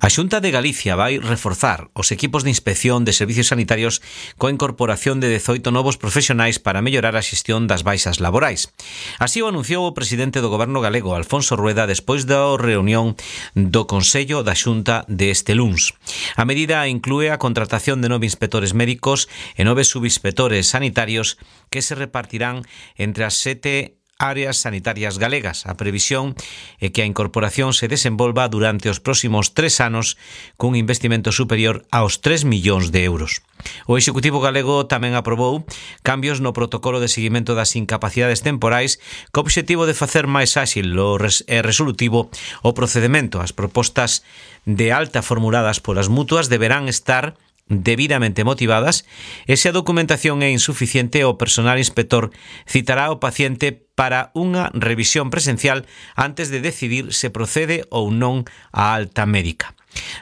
A Xunta de Galicia vai reforzar os equipos de inspección de servicios sanitarios coa incorporación de 18 novos profesionais para mellorar a xestión das baixas laborais. Así o anunciou o presidente do Goberno galego, Alfonso Rueda, despois da reunión do Consello da Xunta deste luns. A medida inclúe a contratación de 9 inspectores médicos e 9 subinspectores sanitarios que se repartirán entre as 7 áreas sanitarias galegas. A previsión é que a incorporación se desenvolva durante os próximos 3 anos cun investimento superior aos 3 millóns de euros. O Executivo galego tamén aprobou cambios no protocolo de seguimento das incapacidades temporais co obxectivo de facer máis áxil e resolutivo o procedemento. As propostas de alta formuladas polas mutuas deberán estar debidamente motivadas e se a documentación é insuficiente, o personal inspector citará ao paciente para unha revisión presencial antes de decidir se procede ou non a alta médica.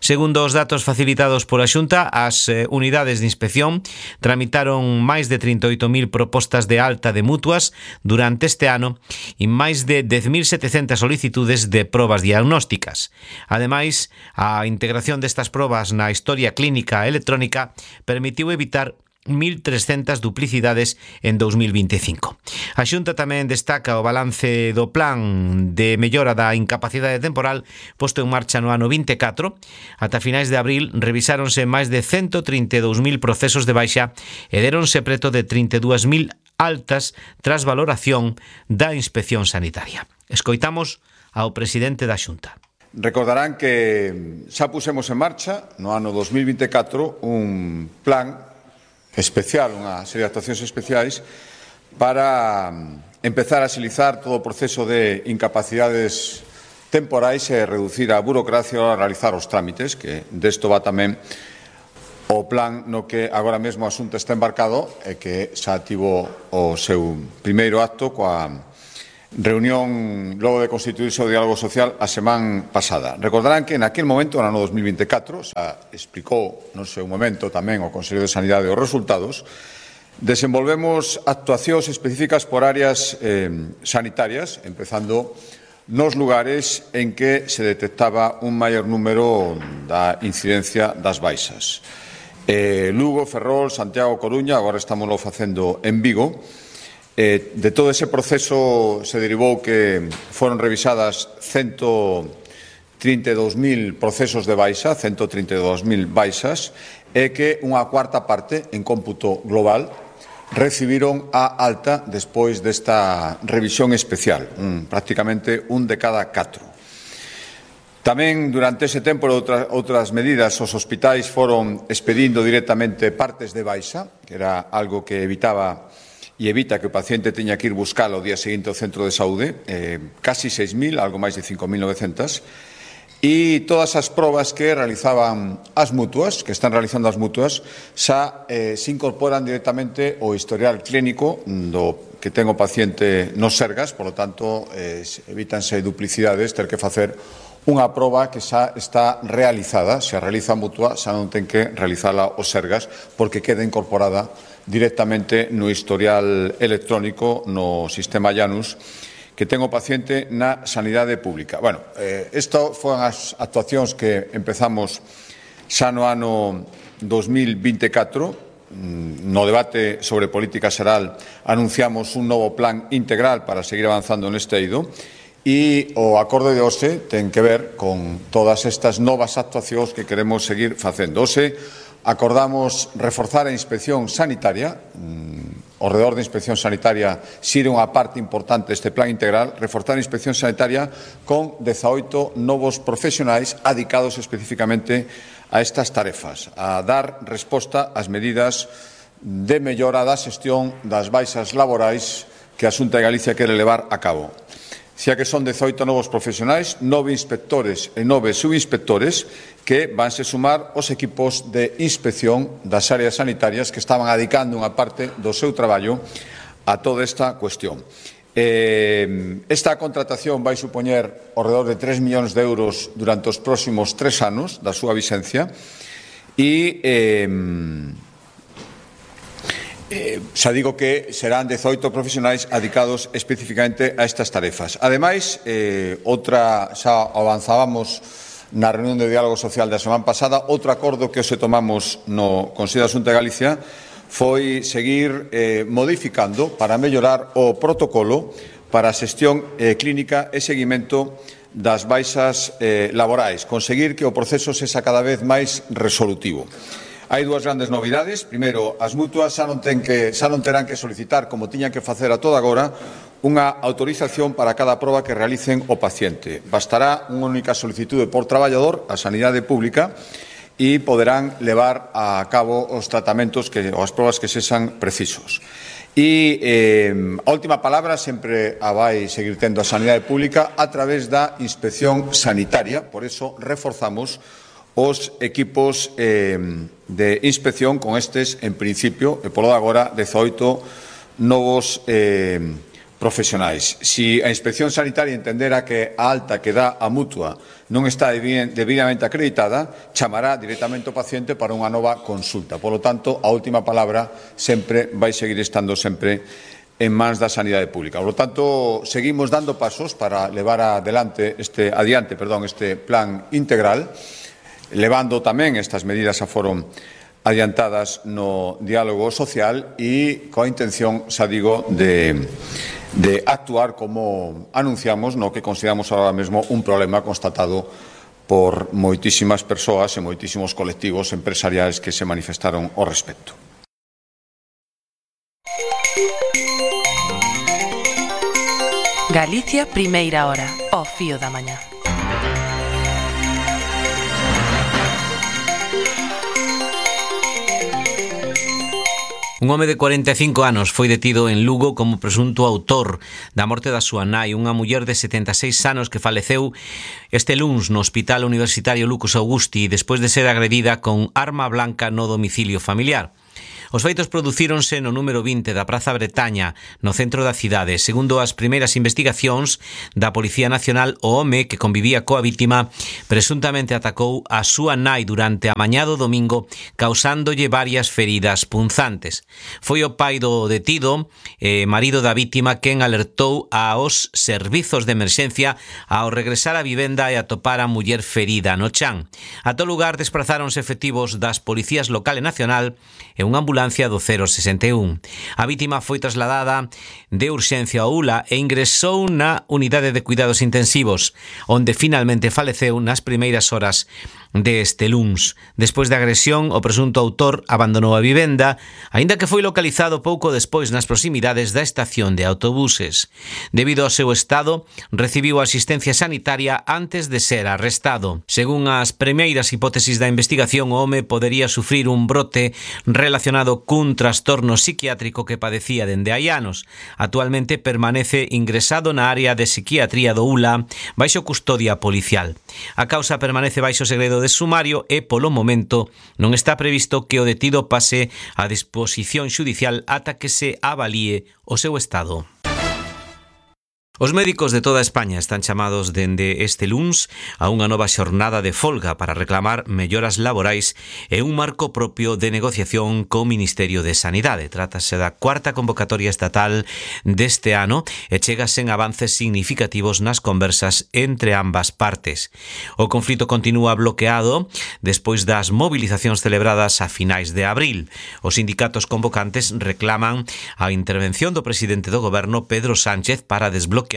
Segundo os datos facilitados pola Xunta, as unidades de inspección tramitaron máis de 38.000 propostas de alta de mutuas durante este ano e máis de 10.700 solicitudes de probas diagnósticas. Ademais, a integración destas probas na historia clínica electrónica permitiu evitar 1.300 duplicidades en 2025. A Xunta tamén destaca o balance do plan de mellora da incapacidade temporal posto en marcha no ano 24. Ata finais de abril revisáronse máis de 132.000 procesos de baixa e deronse preto de 32.000 altas tras valoración da inspección sanitaria. Escoitamos ao presidente da Xunta. Recordarán que xa pusemos en marcha no ano 2024 un plan especial, unha serie de actuacións especiais para empezar a axilizar todo o proceso de incapacidades temporais e reducir a burocracia ao realizar os trámites, que desto va tamén o plan no que agora mesmo a Xunta está embarcado e que xa tivo o seu primeiro acto coa reunión logo de constituirse o diálogo social a semana pasada. Recordarán que naquel momento, no ano 2024, xa explicou no seu momento tamén o Consello de Sanidade os resultados, desenvolvemos actuacións específicas por áreas sanitarias, empezando nos lugares en que se detectaba un maior número da incidencia das baixas. Lugo, Ferrol, Santiago, Coruña, agora estamos facendo en Vigo. De todo ese proceso se derivou que foron revisadas 132.000 procesos de baixa, 132.000 baixas, e que unha cuarta parte, en cómputo global, recibiron a alta despois desta revisión especial, prácticamente un de cada 4. Tamén, durante ese tempo, outras medidas, os hospitais foron expedindo directamente partes de baixa, que era algo que evitaba e evita que o paciente teña que ir buscalo o día seguinte ao centro de saúde, casi 6.000, algo máis de 5.900, e todas as probas que realizaban as mutuas, que están realizando as mutuas, xa se incorporan directamente ao historial clínico do que ten o paciente nos Sergas, por lo tanto, evítanse duplicidades, ter que facer unha proba que xa está realizada, se a realiza a mutua, xa non ten que realizala os Sergas, porque queda incorporada directamente no historial electrónico no sistema Janus que ten o paciente na sanidade pública. Bueno, isto foron as actuacións que empezamos xa no ano 2024. No debate sobre política xeral anunciamos un novo plan integral para seguir avanzando neste eido e o acordo de hoxe ten que ver con todas estas novas actuacións que queremos seguir facendo. Hoxe acordamos reforzar a inspección sanitaria, o redor da inspección sanitaria xire unha parte importante deste plan integral, reforzar a inspección sanitaria con 18 novos profesionais adicados especificamente a estas tarefas, a dar resposta ás medidas de mellora da xestión das baixas laborais que a Xunta de Galicia quere levar a cabo. Xa que son 18 novos profesionais, 9 inspectores e 9 subinspectores que vanse sumar os equipos de inspección das áreas sanitarias que estaban adicando unha parte do seu traballo a toda esta cuestión. Esta contratación vai supoñer ao redor de 3 millóns de euros durante os próximos 3 anos da súa vixencia e xa digo que serán 18 profesionais adicados especificamente a estas tarefas. Ademais, outra xa avanzábamos na reunión de diálogo social da semana pasada. Outro acordo que hoxe tomamos no Consello da Xunta de Galicia foi seguir modificando para mellorar o protocolo para a xestión clínica e seguimento das baixas laborais, conseguir que o proceso sexa cada vez máis resolutivo. Hai dúas grandes novidades. Primeiro, as mutuas xa non terán que solicitar, como tiñan que facer a toda agora, unha autorización para cada proba que realicen o paciente. Bastará unha única solicitude por traballador á sanidade pública e poderán levar a cabo os tratamentos ou as probas que sexan precisos. E a última palabra sempre a vai seguir tendo a sanidade pública a través da inspección sanitaria. Por eso reforzamos os equipos de inspección con estes, en principio, e polo de agora, 18 novos profesionais. Si a inspección sanitaria entendera que a alta que dá a mutua non está debidamente acreditada, chamará directamente o paciente para unha nova consulta. Por lo tanto, a última palabra sempre vai seguir estando sempre en mans da sanidade pública. Por lo tanto, seguimos dando pasos para levar adiante este plan integral, levando tamén estas medidas a foron adiantadas no diálogo social e coa intención, xa digo, de actuar como anunciamos no que consideramos ahora mesmo un problema constatado por moitísimas persoas e moitísimos colectivos empresariais que se manifestaron ao respecto. Galicia, primeira hora, ao fío da mañá. Un home de 45 anos foi detido en Lugo como presunto autor da morte da súa nai, unha muller de 76 anos que faleceu este luns no Hospital Universitario Lucas Augusti despois de ser agredida con arma blanca no domicilio familiar. Os feitos producíronse no número 20 da Praza Bretaña, no centro da cidade. Segundo as primeiras investigacións da Policía Nacional, o home que convivía coa vítima presuntamente atacou a súa nai durante a mañá do domingo, causándolle varias feridas punzantes. Foi o pai do detido, marido da vítima, quen alertou aos servizos de emerxencia ao regresar á vivenda e atopar a muller ferida no chan. A todo lugar desprazáronse efectivos das Policías Local e Nacional e unha ambulancia do 061. A vítima foi trasladada de urxencia ao ULA e ingresou na unidade de cuidados intensivos, onde finalmente faleceu nas primeiras horas deste luns. Despois da agresión, o presunto autor abandonou a vivenda, aínda que foi localizado pouco despois nas proximidades da estación de autobuses. Debido ao seu estado, recibiu asistencia sanitaria antes de ser arrestado. Según as primeiras hipótesis da investigación, o home podería sufrir un brote relacionado cun trastorno psiquiátrico que padecía dende hai anos. Actualmente permanece ingresado na área de psiquiatría do ULA baixo custodia policial. A causa permanece baixo segredo de sumario e, polo momento, non está previsto que o detido pase a disposición xudicial ata que se avalíe o seu estado. Os médicos de toda España están chamados dende este luns a unha nova xornada de folga para reclamar melloras laborais e un marco propio de negociación co Ministerio de Sanidade. Trátase da cuarta convocatoria estatal deste ano e chegasen avances significativos nas conversas entre ambas partes. O conflito continúa bloqueado despois das movilizacións celebradas a finais de abril. Os sindicatos convocantes reclaman a intervención do presidente do goberno, Pedro Sánchez, para desbloquear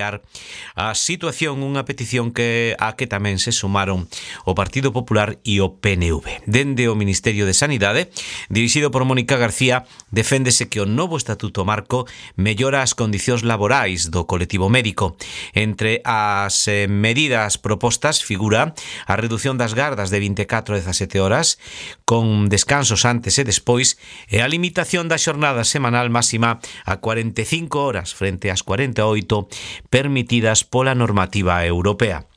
a situación, unha petición a que tamén se sumaron o Partido Popular e o PNV. Dende o Ministerio de Sanidade, dirixido por Mónica García, deféndese que o novo Estatuto Marco mellora as condicións laborais do colectivo médico. Entre as medidas propostas figura a reducción das gardas de 24 a 17 horas, con descansos antes e despois, e a limitación da xornada semanal máxima a 45 horas frente ás 48 permitidas pola normativa europea.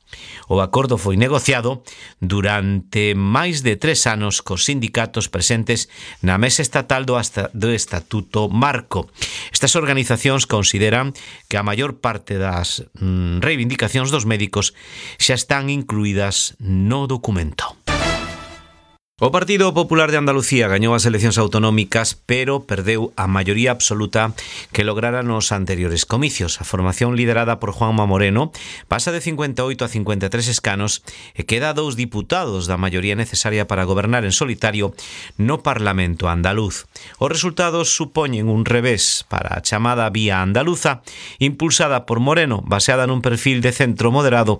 O acordo foi negociado durante máis de 3 anos cos sindicatos presentes na mesa estatal do Estatuto Marco. Estas organizacións consideran que a maior parte das reivindicacións dos médicos xa están incluídas no documento. O Partido Popular de Andalucía gañou as eleccións autonómicas, pero perdeu a maioría absoluta que lograra nos anteriores comicios. A formación liderada por Juanma Moreno pasa de 58 a 53 escanos e queda 2 diputados da maioría necesaria para gobernar en solitario no Parlamento andaluz. Os resultados supoñen un revés para a chamada Vía Andaluza, impulsada por Moreno, baseada nun perfil de centro moderado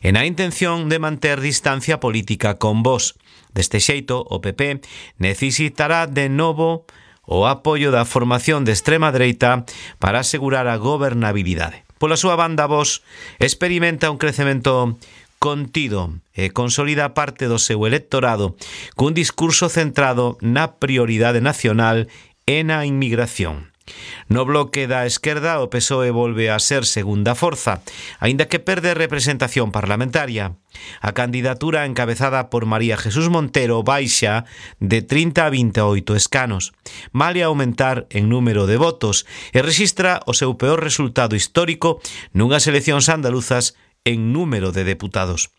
e na intención de manter distancia política con Vox. Deste xeito, o PP necesitará de novo o apoio da formación de extrema dereita para asegurar a gobernabilidade. Pola súa banda, Vox experimenta un crecemento contido e consolida parte do seu electorado cun discurso centrado na prioridade nacional e na inmigración. No bloque da esquerda, o PSOE volve a ser segunda forza, aínda que perde representación parlamentaria. A candidatura encabezada por María Jesús Montero baixa de 30 a 28 escanos, male aumentar en número de votos e rexistra o seu peor resultado histórico nunhas eleccións andaluzas en número de deputados.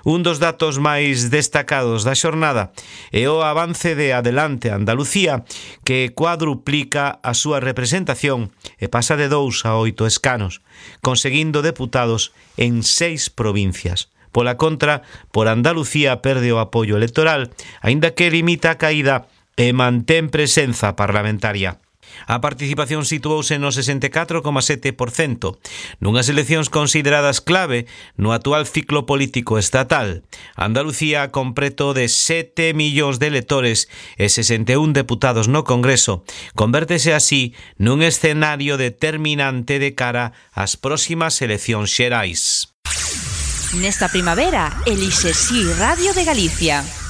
Un dos datos máis destacados da xornada é o avance de Adelante Andalucía, que cuadruplica a súa representación e pasa de 2 a 8 escanos, conseguindo deputados en 6 provincias. Pola contra, por Andalucía perde o apoio electoral, aínda que limita a caída e mantén presenza parlamentaria. A participación situouse no 64,7%, nunhas eleccións consideradas clave no actual ciclo político estatal. Andalucía, con preto de 7 millóns de electores e 61 deputados no Congreso, convértese así nun escenario determinante de cara ás próximas eleccións xerais. Nesta primavera, elixe Si Radio de Galicia.